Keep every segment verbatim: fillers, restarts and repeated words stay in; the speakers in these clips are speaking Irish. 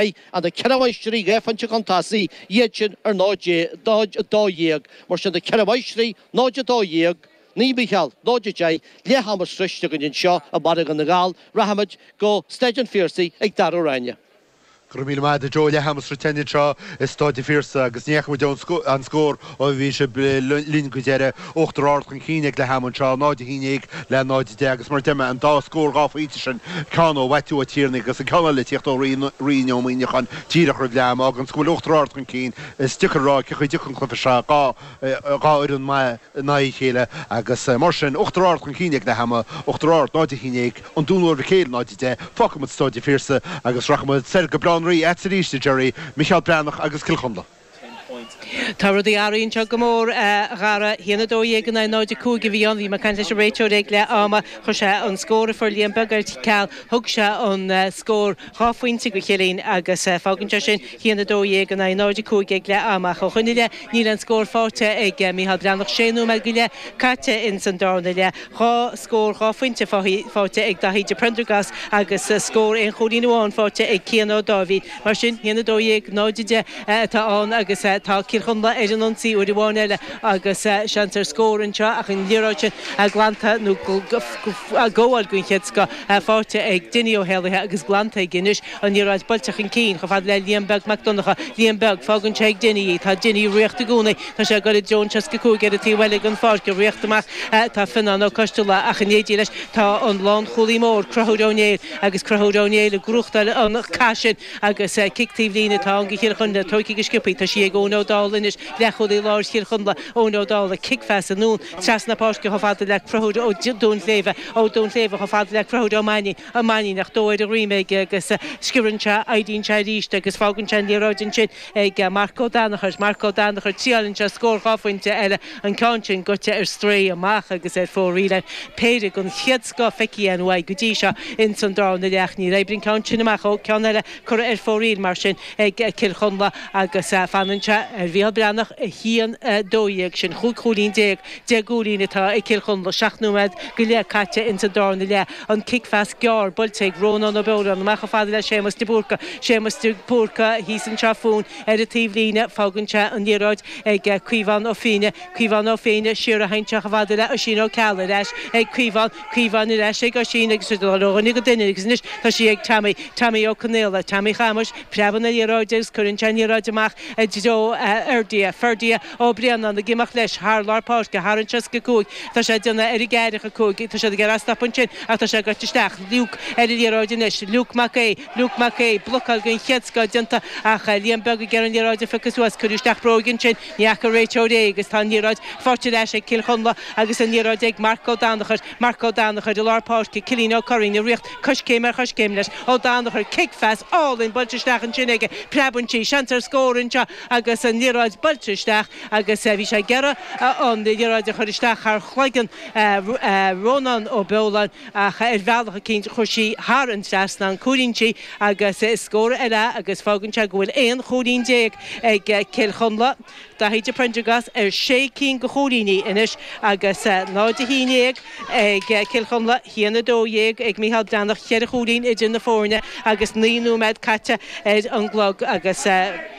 And na ceithre mháistrí dhá phointe chun tosaigh, iad sin ar náid a dó dhéag. Mar sin na ceithre mháistrí, náid a dó dhéag, Naomh Mícheál, náid a deich, leath ama sroichte againn anseo i Margadh na nGall. Rachaimid go Staid an Phiarsaigh ag Dara Ó Ráinne. Go raibh míle maith agat a Joe, leath ama sroichte anseo i Staid an Phiarsaigh agus ní fhaca muid an scór ó bhí sibh linn go deireadh. Uachtar Ard chun cinn ag leath ama anseo, náid a haon déag le náid a deich agus mar a deir mé an dá scór dhá phointe sin, ceann ó Mhaitiú Ó Tiarnaigh agus an ceann eile ag tíocht ó Rian Ó Muimhneacháin díreach roimh leath ama. Fágann go bhfuil Uachtar Ard chun cinn. Is deacair a rá cé chaoi a dtiocfaidh an cluiche seo, dhá dhá fhoireann maith in aghaidh a chéile agus mar sin, Uachtar Ard chun cinn ag leath ama, Uachtar Ard náid a haon déag, An Dún Mór Mhic Éil náid a deich. Fágfaidh muid Staid an Phiarsaigh agus rachaidh muid soir go Baile Átha an Rí agat arís, a Gerry, Micheál Breathnach agus Cill Chonla. Tá rudaí athraithe anseo go mór, a Dhara. Haon a dó dhéag in aghaidh náid a cúig a bhí ann. Bhí mé ag caint leis an réiteoir ag leath ama. Chuir sé an scór a fuair Liam Beag ar ceal. Thug sé an scór dhá phointe go Chillín agus fágann sé sin haon a dó dhéag in aghaidh náid a cúig ag leath ama. Ach ó shoin i leith níl aon scór faighte ag Micheál Breathnach. Sé nóiméad go leith caite ins an darna leath. Dhá scór dhá phointe faighte ag Daithí de Prendergast agus scór aon chúilín amháin faighte ag Cian Ó Dáibhín. Mar sin, haon a dó dhéag, náid a deich atá ann agus tá Cill Chonla ar an ionsaí uair amháin eile agus seans ar scór anseo ach an liathróid sin glanta nó gabháil den chéad scoth faighte ag Dinny Ó hÉallaithe agus glanta aige anois an liathróid buailte chun cinn chomh fada le Liam Beag Mac Donncha. Liam Beag, fágann sé ag Dinny í. Tá Dinny ag ritheacht i gcónaí. Tá sé ag dul i dtreo an seasca cúig ar an taobh eile den pháirc. Ag ritheacht amach tá Fionnán Ó Coistealbha ach in éindí leis tá an lánchúlaí mór, Conchúr Ó Néill agus Conchúr Ó Néill ag gnóthachtáil an cath sin agus cic taobh líne atá ann do Chill Chonla. Tógtha go sciobtha, tá sí ag Eoin Ó Dálaigh anois, leathchúlaí láir Chill Chonla, Eoin Ó Dálaigh, cic phas anonn trasna páirce chomh fada le Conchúr Ó Duinnshléibhe, Ó Duinnshléibhe chomh fada le Conchúr Ó Mainnín, Ó Mainnín ach dó ar a dhroim aige agus sciorann sé, éiríonn sé arís agus fágann sé an liathróid ansin ag Marc Ó Danachair, Marc Ó Danachair, triáileann sé scór dhá phointe eile, an ceann sin goite ar strae amach agus ar fóraoil. Péire den chéad scoth feicthe againn uaidh go dtí seo ins an darna leath. Níor oibrigh an ceann sin amach. Ó, ceann eile curtha ar fóraoil mar sin ag Cill Chonla agus fanann sé ar Mhícheál Breathnach, a haon a dó dhéag. Sin chúig chúilín déag, deich gcúilín atá ag Cill Chonla. Seacht nóiméad go leith caite ins an darna leath. An cic phas gearr buailte ag Rónán Ó Beoláin amach chomh fada le Séamus de Búrca. Séamus de Búrca thíos anseo fúinn ar an taobhlíne. Fágann sé an liathróid ag Caomhán Ó Fiaine. Caomhán Ó Fiaine siar a sheinnteach chomh fada le Oisín Ó Ceallaigh ar ais ag Caomhán, Caomhán ar ais ag Oisín agus ag dul ó dhuine go duine agus anois tá sí ag Tommy, Tommy Ó Conaola, Tommy Chamuis, preabann an liathróid agus cuireann sé an liathróid amach i dtreo Ferdia, Ferdia Ó Braonáin ag imeacht leis thar lár páirce, thar an seasca cúig, tá sé ag déanamh ar an gceathracha cúig, tá siad ag iarraidh stop ansin ach tá sé goite isteach, Luke ar an liathróid anois, Luke Mac Aodha, Luke Mac Aodha, blocáil den chéad scoth déanta ach Liam Beag ag iarraidh an liathróid a phiocadh suas, cuireadh isteach bróg ansin, ní fhaca an réiteoir é agus tá an liathróid faighte ar ais ag Cill Chonla agus an liathróid ag Marc Ó Danachair, Marc Ó Danachair i lár páirce, Cillian Ó Curraoin ag ritheacht coiscéim ar choiscéim leis, Ó Danachair, cic phas álainn buailte isteach ansin aige, preabann sí, seans ar scór anseo agus an liathróid buailte isteach agus bhí sé ag iarraidh an liathróid a chur isteach thar chloigeann Rónán Ó Beoláin ach ar bhealach eicínt chuir sí thar an trasnán, cúilín sí agus is scór eile é agus fágann sé go bhfuil aon chúilín déag ag Cill Chonla. Daithí de Prendergast ar sé cinn de chúilíní anois agus náid a haon déag ag Cill Chonla, haon a dó dhéag ag Micheál Breathnach, ceithre chúilín idir na foirne agus naoi nóiméad caite ar an gclog agus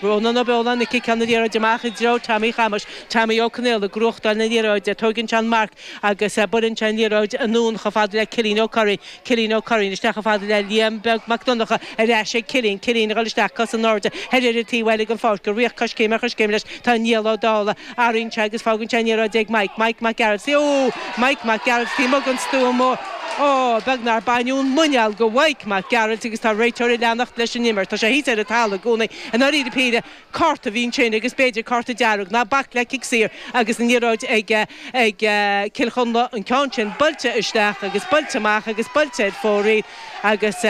Rónán Ó Beoláin ag ciceáil na liathróide amach i dtreo Tommy Chamuis, Tommy Ó Conaola ag gnóthachtáil na liathróide, tóigeann sé an marc agus buaileann sé an liathróid anonn chomh fada le Cillian Ó Curraoin, Cillian Ó Curraoin isteach chomh fada le Liam Beag Mac Donncha ar ais ag Cillian, Cillian ag dul isteach, cosa in airde, thoir ar an taobh eile den pháirc, ag ritheacht coiscéim ar choiscéim leis, tá Niall Ó Dálaigh, athraíonn sé agus fágann sé an liathróid ag Mike, Mike Mac Gearailt, ó! Mike Mac Gearailt taobh amuigh den stua mór, ó! Beag nár baineadh an muineál de Mhike Mac Gearailt agus tá an réiteoir ag leanacht leis an imirt. Tá sé thíos ar an talamh i gcónaí. I ndáiríre píre, cárta a bhí ansin agus b'fhéidir cárta dearg, ná bac le cic saor agus an liathróid ag ag Cill Chonla, an ceann sin buailte isteach agus buailte amach agus buailte ar fóraoil agus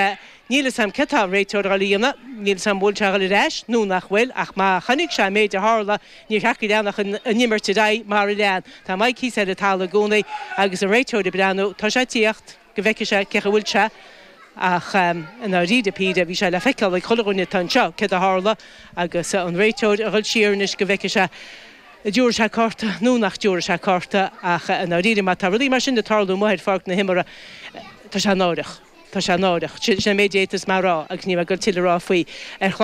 níl 'fhios a'm céard tá an réiteoir a dhul a dhéanamh, níl 'fhios a'm bhfuil sé a dhul ar ais nó nach bhfuil ach má chonaic sé an méid a tharla níor cheart go leanfadh an imirt ar aghaidh mar a lean. Tá Mike thíos ar an talamh i gcónaí agus an réiteoir ag breathnú, tá sé ag tíocht go bhfeicfidh sé cé chaoi bhfuil sé ach i ndáiríre píre bhí sé le feiceáil ag chuile dhuine atá anseo céard a tharla agus an réiteoir a dhul siar anois go bhfeicfidh sé an dtiúrfaidh sé cárta nó nach dtiúrfaidh sé cárta ach i ndáiríre má tá rudaí mar sin ag tarlú amuigh ar pháirc na himeartha tá sé náireach. Tá sé náireach sin méid étas mar rá agus ní go til rá faoi ar chlár